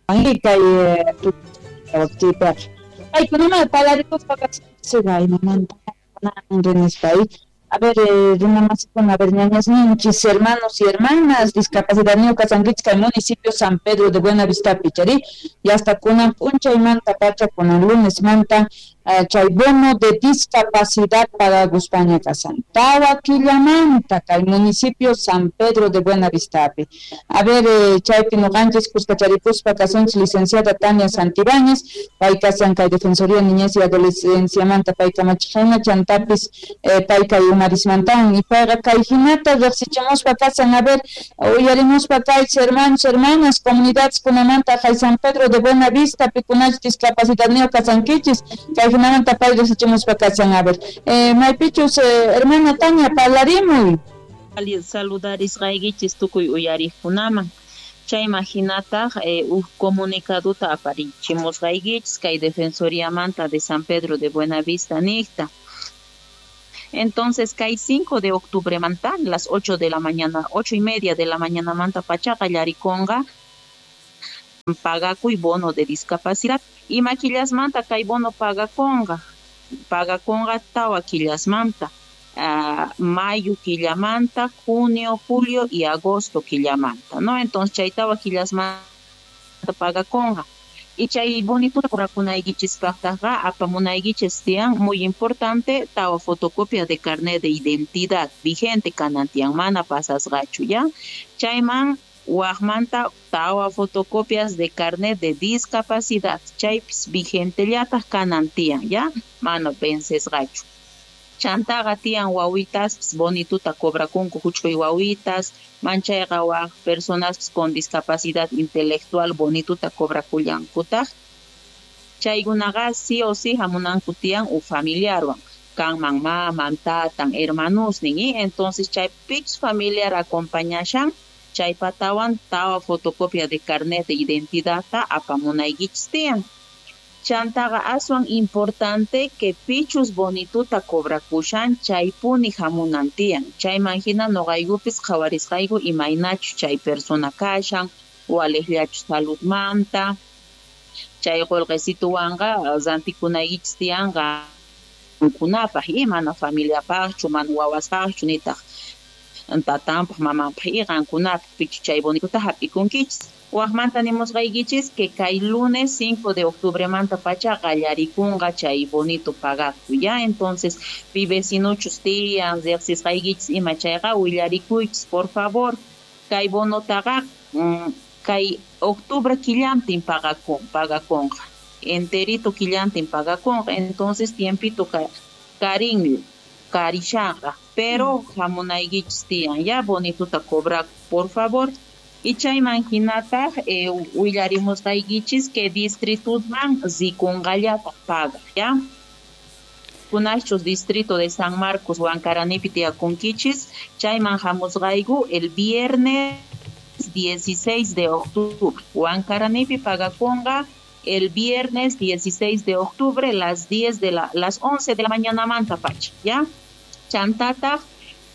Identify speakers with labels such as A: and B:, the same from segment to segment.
A: Kay paykunaman palarikuspa imamanta. A ver, runamasikuna, a ver, ñañasninchis, hermanos y hermanas, discapacidad kasankichis kay municipio San Pedro de Buenavista pichari, y hasta kunan p'unchaymanta pacha, kunan lunes manta, chay bono de discapacidad pagaguspaña kasan. Tawa killamanta kay municipio San Pedro de Buenavistapi. A ver, chaypi nuqanchis kuskacharikuspa kasunchis licenciada Tania Santibáñez, pay kasan kay Defensoría Niñez y Adolescencia manta pay kamachijina, chantapis pay kay umarismantawan, y payqa kay hinata riqsichimuspa kasan. A ver, uyarimuspa kaychis hermanos, hermanas, comunidades kunamanta kay San Pedro de Buenavista pikunachis discapacidadniyuq kasankichis, kay hinamanta pay riqsichimuspa kasan. A ver, maypichus, hermana Tania, parlarimuy.
B: Saludarisqaykichis tukuy uyariqkunaman. Chayman hinataq uj comunicaduta aparichimusqaykichis kay Defensoriamanta de San Pedro de Buenavista niqta. Entonces, kay 5 de octubre manta, las 8 de la mañana, 8:30 de la mañana manta pacha qallarikunqa pagakuy bono de discapacidad. Ima killasmanta kay bono pagakunqa? Pagakunqa tawa killasmanta, mayo killamanta, junio, julio y agosto killamanta, ¿no? Entonces, chay tawa killasmanta pagakunqa. Y chay bonituta cobrakunaykichispaqtaqa apamunaykichis tiyan, muy importante, tawa fotocopia de carnet de identidad vigente kanan tiyan, mana pasasqachu, ya. Chayman waqmanta tawa fotocopias de carnet de discapacidad, chaypis vigentellataq kanan tiyan, ya, mana vencesqachu. Chantaqa tiyan wawitas bonituta cobrakunku huch'uy wawitas, manchayqa waq personas con discapacidad intelectual bonituta cobrakullankutaq. Chaykunaqa sí o sí hamunanku tiyan u familiarwan, kanman maman, tatan, hermanosnin, y entonces chay pichus familiar acompañashan, chay patawan tawa fotocopia de carnet de identidad ta apamunaykichis tiyan. Chantaqa aswan importante que pichus bonituta cobrakushan chaypuni hamunan tiyan. Chayman hina nuqaykupis qhawarisqayku imaynachu chay persona kashan, waliqllachu saludmanta. Chay qullqisituwanqa rantikunaykichis tiyanqa qankunapaq, y mana familiapaqchu, mana wawaspaqchu, nitaq tatanpaq, mamanpaq, y qankunapaq pichu chay bonituta hap'ikunkichis. Waqmanta nimusqaykichis que kay lunes 5 de octubre manta pacha qallarikunqa chay bonito pagakuy, ya. Entonces, pi vecinuchus tiyan, riqsisqaykichis ima chayqa willarikuychis, por favor. Kay bonotaqa kay octubre killantin pagakunqa. Enterito killantin pagakunqa. Entonces, tiempito karin karishanqa, pero hamunaykichis tiyan, ya, bonituta cobra, por favor. Y chayman hinataq willarimusqaykichis que distrituman rikunqallataq paga, ya. Kunachus distrito de San Marcos Huancaranipi tiyakunkichis, chayman hamusqayku el viernes 16 de octubre. Huancaranipi pagakunqa el viernes 16 de octubre las 10 de la, las 11 de la mañana manta pacha, ya. Chantataq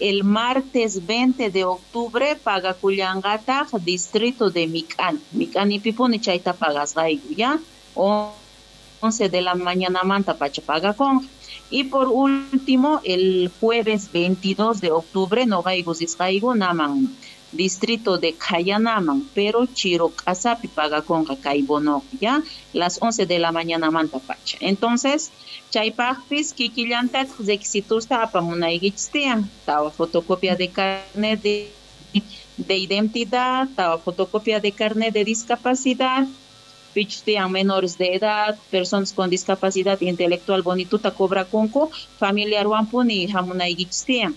B: el martes 20 de octubre pagakullanqataq distrito de Micán. Mic'anipipuni chayta pagasqayku, ya. 11 de la mañana manta pacha pagakunqa. Y por último, el jueves 22 de octubre noqayku risqayku naman distrito de Kayanaman, pero Chiroc'asapi pagakunqa kay bono, ya, las 11 de la mañana manta pacha. Entonces, chaypaqpis kikillantataq requisitusta apamunaykichis tiyan, tawa fotocopia de carnet de identidad, tawa fotocopia de carnet de discapacidad, pichus tiyan menores de edad, personas con discapacidad intelectual bonituta cobrakunku, familiarwanpuni hamunaykichis tiyan.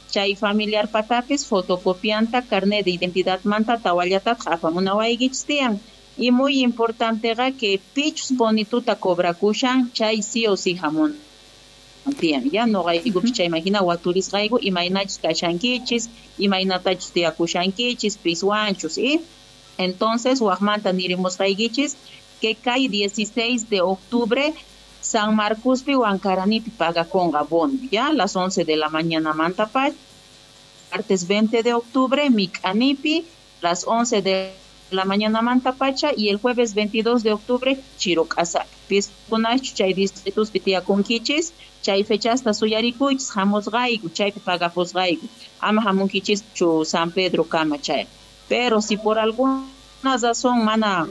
B: Chay familiar patapis fotocopianta carnet de identidad manta tawallataq apamunawaykichis tiyan. Y muy importante que pichus bonituta cobrakushan chay sí o sí hamun tiyan. Ya noqaykupis chayman hina waturisqayku imaynachus kashankichis, imaynatachus tiyakushankichis, piswanchus, y entonces waqmanta nirimusqaykichis que kay 16 de octubre San Marcospi Huancaranipi pagakunqa bono, ya, las 11 de la mañana manta pacha. Martes 20 de octubre Mic'anipi, las 11 de la mañanamanta pacha y el jueves 22 de octubre Chirocasa. Piskunachu chay distrituspi tiyakunkichis, chay fechasta suyarikuychis hamusqayku, chaypi pagapusqayku. Ama hamunkichischu San Pedro kama chay. Pero si por alguna razón mana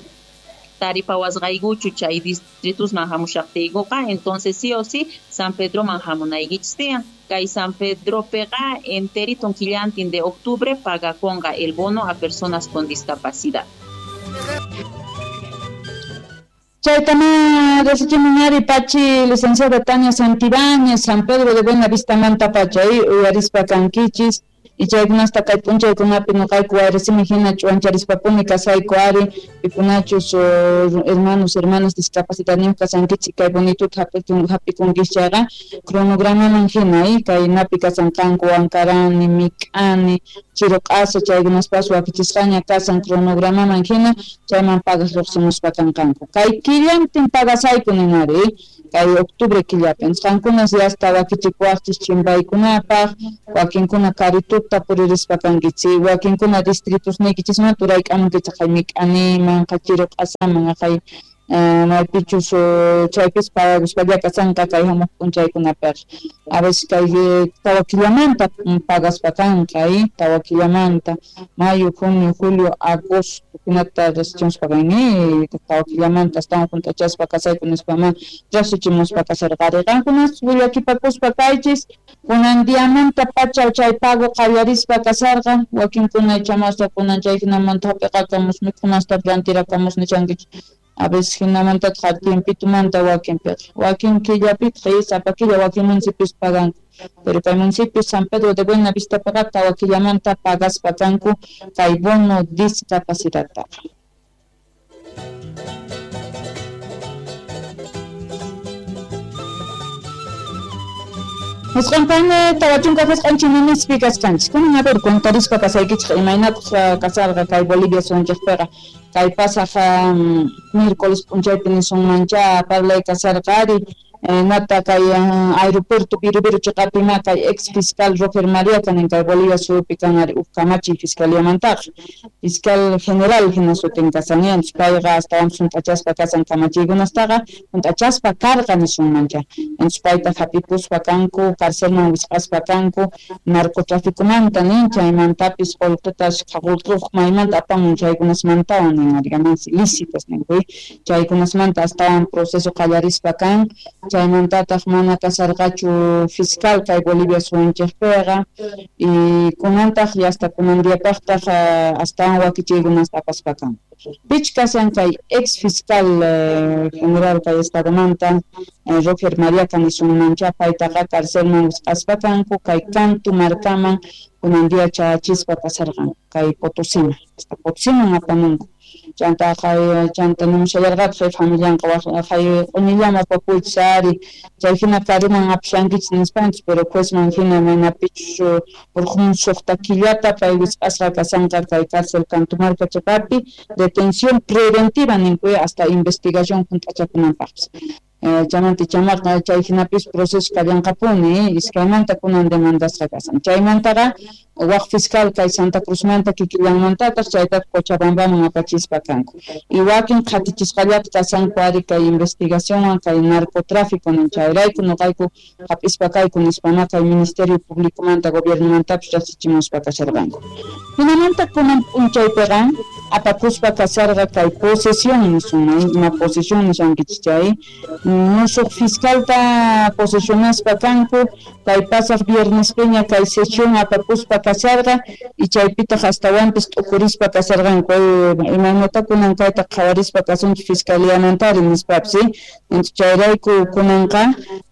B: taripawasqaykuchu chay distritusman hamushaqtiykuqa, entonces sí o sí San Pedroman hamunaykichis tiyan. Kay San Pedropiqa enterito killantin de octubre pagakunqa el bono a personas con discapacidad.
A: Chaytama resichimunari pachi licenciada Tania Santibáñez, San Pedro de Buenavista manta pacha, uyarispa kankichis. Y chaykunasta kay p'unchaykunapi nuqayku wayrisimi hina ch'uwancharispapuni kasayku ari pikunachus hermanos hermanas discapacidadniyuq kasankichik kay bonituta hap'ikunkichis chayqa cronogramaman hina kay napi kasanqanku Wankarani, Mik'ani, Chiruq'asa chaykunaspas wakichisqaña kasan cronogramaman hina chayman pagaq lluqsimuspa kanqanku kay killantin pagasayku ninari kay octubre killapi qankunas yasta wakichikuwaqchis chimpaykunapaq wakinkuna karituta puririspa kankichik wakinkuna distritusniykichismanta urayk'amunkichik qay Mik'animan qay Chiruq'asaman qay maypichus chaypis pagakuspalla kasanqa kay hamuq p'unchaykunapiqa a veces kay tawa killamanta pagaspa kanqa tawa killamanta mayo, junio, julio, agosto hinata resichimuspa kanki tawa killamanta astawan hunt'achaspa kasayku nispama riqsichimuspa kasarqari qankunas willakipakuspa kaychis kunan diamanta pacha chay pago qallarispa kasarqa wakinkuna ichamasta kunan chay hinamanta hap'iqakamus mikhunasta rantirakamus nichankichik a veces hinamantataq tiempitumanta wakinpiqa wakin killapitaq sapa killa wakin municipios paganku pero kay municipio San Pedro de Buenavistapiqa tawa killamanta pagaspa kanku kay bono discapacidadtaqa. Nisqanpani tawa chunka qisqanchik kasqanchik. Kunan a ver contarispa kasaykichik imaynataq kasarqa kay Bolivia suyunchikpiqa kay pasaq miércoles p'unchaypi nisunmancha parlay kasarqa ari nata kay aeropuerto Viru chiqapima kay ex fiscal Roger María kanin kay Bolivia suyupi kan ari huk kamachiy fiscaliamantaqa fiscal general hina sutin kasan payqa astawan hunt'achaspa kasan kamachiykunastaqa hunt'achaspa karqa nisunmancha entonces payta hap'ipuspa kanku carcelman wisq'aspa kanku narcotraficomanta nin chaymantapis qullqita qullqi maymanta apamun chaykunasmantawan nin ari ganancias ilícitas ninku chaykunasmanta astawan proceso qallarispa kan chaymantataq mana kasarqachu fiscal kay Bolivia suyunchikpiqa y kunantaq hasta kunan diapaqtaq astawan wakichiykunasta apaspa kan pich kasan kay ex fiscal general kay estadomanta Roger María kanisunmancha paytaqa carcelman wisq'aspa kanku kay Cantu markaman kunan dia chayachispa kasarqan kay Potosima hasta Potosiman apamunku chanta qay chanta nimushallarqataq familianqa qay q'uñillama papuychis ari chay hina karuman apashankichis nispanchis pero juezman hina manapichus urqun suqta killata pay wisq'asqa kasanqa kay cárcel Cantumarca chiqapi detención preventiva ninku hasta investigación hunt'achakunanpaqpis chaymanta chamaqa chay hinapis proceso kallanqapuni iskaymanta kunan demandasqa kasan chaymantaqa waq fiscal kay Santa Cruzmanta kikillanmantataq chaytataq Cochabambaman apachispa kanku y wakin qhatichisqallata kasanku ari kay investigacionwan kay narcotráfico nin chayrayku nuqayku hap'ispa kayku nispama kay Ministerio Públicomanta gobiernomantapis riqsichimuspa kasharqanku hinamanta kunan p'unchaypiqa apakuspa kasarqa kay posesión nisunman ima posesión nishankichis chay musuq fiscalta posesionaspa kanku kay pasaq viernespiña kay sesión apakuspa kasarqa y chaypitaq astawanpis t'ukurispa kasarqanku imaynata kunan kayta qhawarispa kasunchik fiscaliamantari nispapis entonces chayrayku kunanqa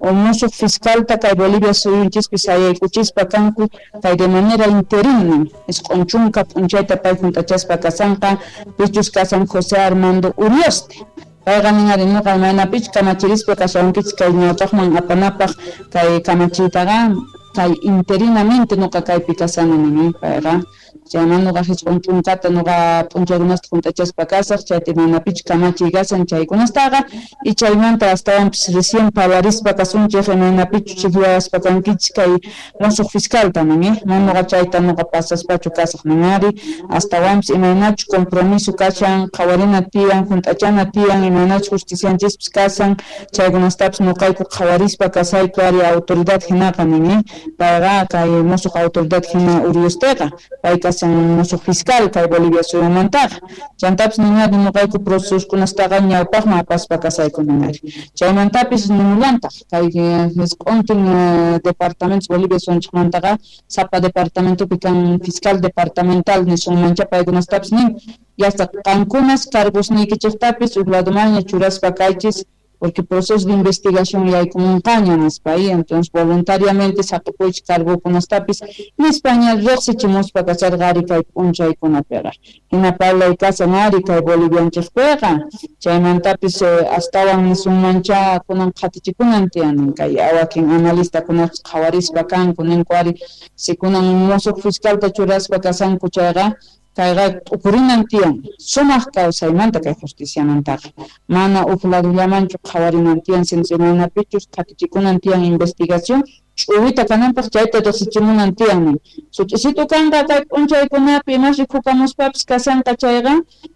A: musuq fiscalta kay Bolivia suyunchispi sayaykuchispa kanku kay de manera interina isq'un chunka p'unchayta pay hunt'achaspa kasanqa pichus kasan José Armando Urioste payqa nin ari nuqa imaynapich kamachirispa kashawankichik kay ñawpaqman apanapaq kay kamachiytaqa kay interinamente nuqa kaypi kasani nin payqa Chayman nuqa jisq'un ch'unkata nuqa p'unchaykunasta junt'achaspa kasaq chayta imaynapichus kamachiy kasan chaykunastaqa y chaymanta astawanpis recién parlarispa kasunchik imaynapichus chikllawaspa kankichis kay musuq fiscalta nin mana nuqa chayta nuqa pasaspachu kasaq nin ari astawanpis imaynachus compromiso kashan qhawarina tiyan junt'achana tiyan imaynachus justicianchispis kasan chaykunastapis nuqayku qhawarispa kasayku ari autoridad hinaqa nin payqa kay musuq autoridad hina Uriosteqa pay kasan musuq fiscal kay Bolivia suyumantaqa chantapis ninari nuqayku procesokunastaqa ñawpaqman apaspa kasayku ninari chaymantapis nimullantaq kay jisq'untin departamentos Bolivia suyunchikmantaqa sapa departamentopi kan fiscal departamental nisunmancha paykunastapis nin yasta qankunas cargosniykichiktapis huk ladomanña churaspa kaychis porque proceso de investigación yaykumunqaña nispa y entonces voluntariamente saqipuychik cargokunastapis nispaña riqsichimuspa kasharqa ari kay p'unchaykunapiqa hina parlay kasan ari kay Bolivianchikpiqa chaymantapis astawan nisunmancha kunan qhatichikunan tiyan kay wakin analistakunapis qhawarispa kanku ninku ari si kunan musuq fiscalta churaspa kasanku chayqa kayqa t'ukurinan tiyan sumaq kawsaymanta kay justiciamantaqa mana huk ladollamanchu qhawarinan tiyan sino imaynapichus qhatichikunan tiyan investigación ch'uwita kananpaq chayta riqsichimunan tiyan sut'isitu kanqa kay p'unchaykunapi imas rikukamuspapis kasanqa chayqa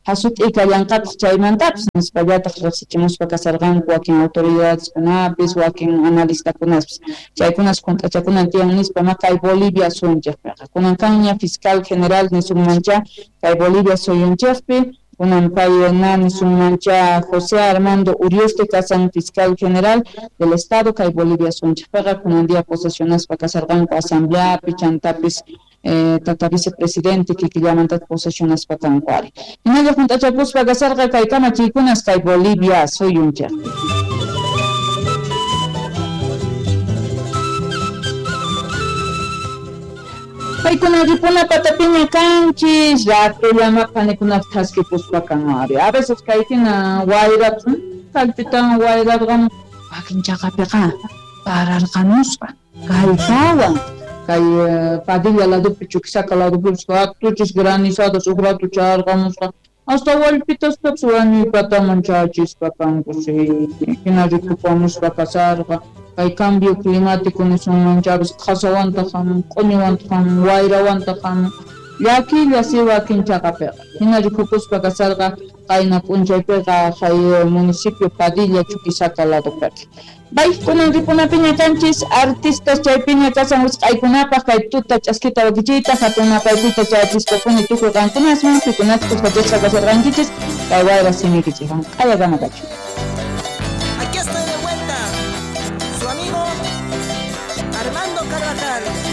A: hasut'i kallanqataq chaymantapis nispallataq riqsichimuspa kasarqanku wakin autoridadeskunapis wakin analistakunaspis chaykunas junt'achakunan tiyan nispa ma kay Bolivia suyunchikpiqa kunan kanña fiscal general nisunmancha kay Bolivia suyunchikpi kunan pay na nisunmancha José Armando Urioste kasan fiscal general del estado kay Bolivia suyunchikpiqa kunan día posesionaspa kasarqanku asambleapi chantapis tata vicepresidente kikillamanta posesionaspa kanku ari hinalla junt'achakuspa kasarqa kay kamachiykunas kay Bolivia suyunchikpi. Paykuna ripuna patapiña kanchis ratullama panikunata thaskipuspa kan ari a veces kay hina wayrapis kallpitawan wayrarqamun wakin chaqapiqa pararqamusqa kallpawan kay Padilla ladopi Chuquisaca ladopi hatuchis granizadas huk rato chayarqamusqa hasta wallpitaspapis wañuypataman chayachispa kanku si hina rikupamuspa kasarqa kay cambio climático nisunmanchapis qhasawantaq hamun q'uñiwantaq hamun wayrawantaq hamun llakilla si wakin chaqapiqa hina rikukuspa kasarqa qayna p'unchaypiqa kay municipio Padilla Chuquisaca ladopiqa Bay kunan ripunapiña kanchis artistas chaypiña kasan wisq'aykunapaq kay tuta ch'askita wakichiyta hatun napaykuyta chayachispapuni tukuy qankunasman pikunachus kasharqankichis kay wayra simiykichikwan q'ayakama kachu.